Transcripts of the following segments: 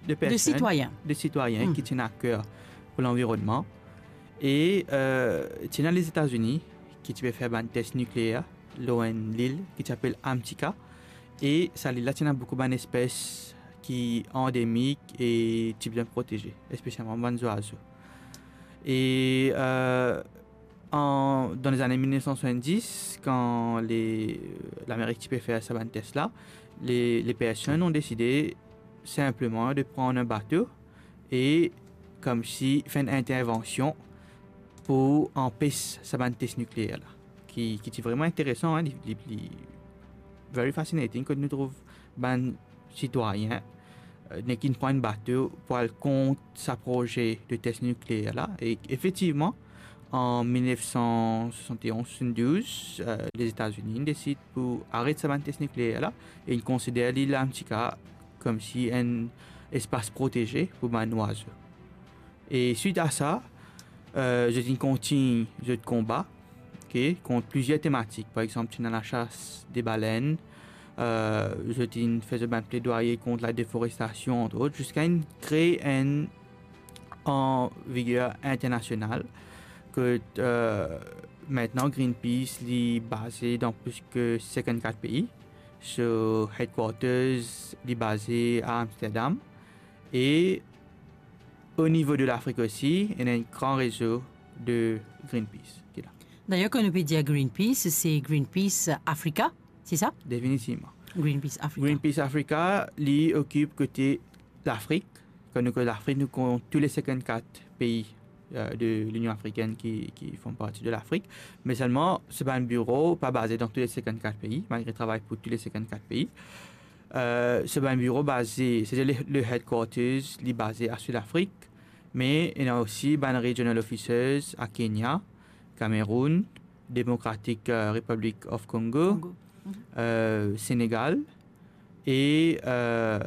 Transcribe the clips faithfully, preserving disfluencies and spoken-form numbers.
de personn, sitwayin. De sitwayin ki ti ena aker pou lanvironnman. E, euh, ti ena Lezetazini ki ti pe fer bann tes nikleer lor enn lil ki ti apel Amtika. E sa lil la ti ena boukou bann espes ki andemik e ti bizin proteze, espesialman bann zwazo. E, euh, an, dan lezane mil nef san swasanndis, kan le, Lamerik ti pe fer sa bann tes la, le, le personn ont deside sinpleman de pran enn bato e koumsi fer enn intervansion pou anpes sa bann tes nikleer la, ki, ki ti vreman interesan, hein, li, li, li very fascinating, kot nou trouv bann sitwayin, euh, nek inn pran enn bato pou al kont sa proze de tes nikleer la. E efektivman, an mil nef san swasann-e-onz, swasann-douz, euh, Lezetazini inn desid pou aret sa bann tes nikleer la, e inn konsider lil Amtika koumsi enn espas proteze pou bann zwazo. E swit a sa, euh, zot inn kontign zot konba, ok, kont plizier tematik. Par exanp, ti ena lasas de balenn, euh, zot inn fer zot bann pledwaye kont ladeforestasion, ant ot, ziska inn kre enn anviger internasional, kot, euh, aster Greenpeace li baze dan plis ki sinkannkat pei. So, headquarters li baze a Amsterdam. E o nivo de Lafrik osi, ena enn gran rezo de Greenpeace ki la. Dayer, kan nou pe dir Greenpeace, se Greenpeace Africa, se sa? Definitivman. Greenpeace Africa. Greenpeace Africa, li okip kote Lafrik. Kan nou koz Lafrik, nou kont tou le sinkannkat pei, euh, de Linion Afrikenn ki, ki form parti de Lafrik. Me selman, so bann biro pa baze dan tou le sinkannkat pei, malgre travay pou tou le sinkannkat pei. Euh, so bann biro baze, setadir le, le headquarters, li baze a Sud Afrik, me ena osi bann regional offices a Kenya, Cameroun, Democratic, euh, Republic of Congo, Congo. Mhm. Euh, Senegal e, euh,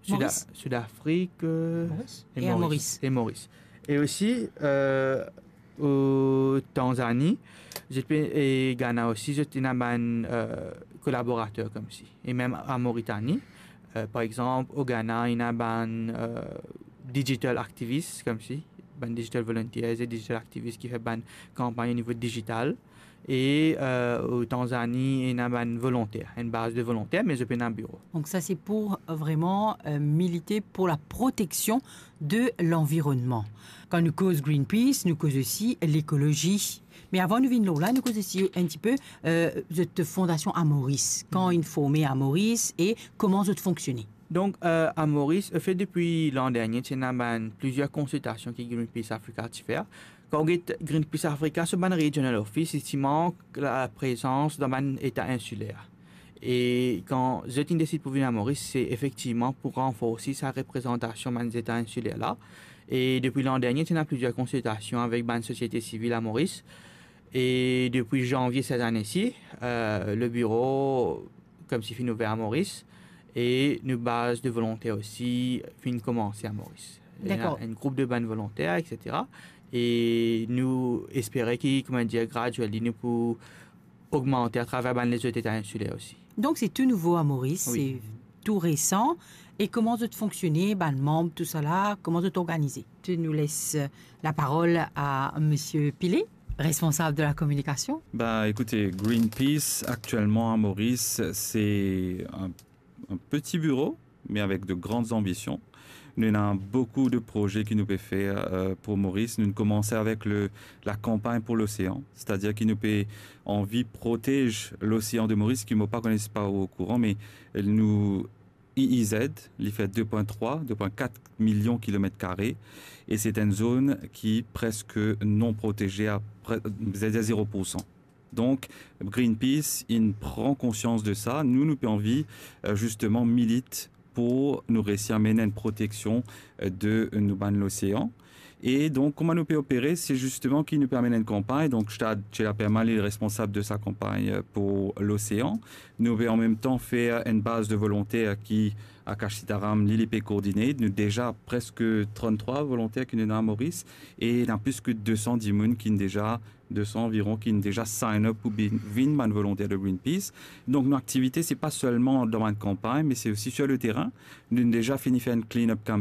Sud-, Maurice. Sud Afrik, euh, Maurice. E Maurice. E Maurice. E osi, euh, o Tanzani, zot pe, e Ghana osi, zot ena bann, euh, kolaborater koumsi. E mem a Moritani, euh, par exanp, o Ghana, ena bann, euh, digital activists koumsi, bann digital volunteers e digital activists ki fer bann kanpagn o nivo digital. E, euh, o Tanzani, ena bann volonter, enn baz de volonter, me zot pena biro. Donc ça, c'est pour, euh, vraiment, euh, militer pour la protection de l'environnement. Kan nou koz Greenpeace, nou koz osi lekolozi. Me avan nou vinn lor la, nou koz osi enn tipe, euh, zot fondasion a Moris. Kan inn forme a Moris e kouma zot fonksione? Donk, euh, a Moris, anfet, depi lan dernie, ti ena bann plizier konsiltasion ki Greenpeace Africa ti fer. Kan ou get Greenpeace Africa, so bann regional office, li ti mank laprezans dan bann eta insiler. E kan zot inn desid pou vinn a Moris, se efektivman pou ranforsi sa reprezantasion bann eta insiler la. E depi lan dernie, ti ena plizier konsiltasion avek bann sosiete sivil a Moris. E depi zanvie set ane si, euh, le biro koumsi finn ouver a Moris, e nou baz de volonter osi finn koumanse a Moris. Ena Dakor. Enn group de bann volonter, et cetera. E nou espere ki, kouma dir, gradually, nou pou ogmante atraver bann lezot eta insiler osi. Donk, se tou nouvo a Moris, Wi. Se tou resan. E kouma zot fonksione, bann manb, tousala, kouma zot organize? Nou les, euh, laparol a Misie Pile, responsab de la kominikasion. Ben, écoutez, Greenpeace, actuellement à Maurice, c'est un, un petit bureau, mais avec de grandes ambitions. Nou ena boukou de proze ki nou pe fer, euh, pou Moris. Nou koumans avek le, la kanpagn pou losean, setadir ki nou pe anvi protez losean de Moris, ki mo pa kone si ou okouran, me nou E E Z, li fer de pwin trwa, de pwin kat milion kilomet kare, e se enn zone ki preske non proteze a pre-, setadir zero pour san. Donk, Greenpeace, inn pran konsians de sa. Nou, nou pe anvi, euh, zisteman milit pou nou resi amenn enn proteksion, euh, de nou bann losean. E donk, kouma nou pe opere, se zisteman ki nou pe amenn enn kanpagn. Donk, Stad Tchela Permal, li responsab de sa kanpagn, euh, pou losean. Nou pe an mem tan fer enn baz de volonter ki Akash Sitaram, li, li pe koordine. Nou deza preske tranntrwa volonter ki nou ena a Moris, e ena plis ki de san dimoun ki inn deza, de san anviron, ki inn deza sign up pou bin, vinn bann volonter de Greenpeace. Donk, nou aktivite, se pa selman dan bann kanpagn, me se osi sur le terrain. Nou deza fini fer enn clean up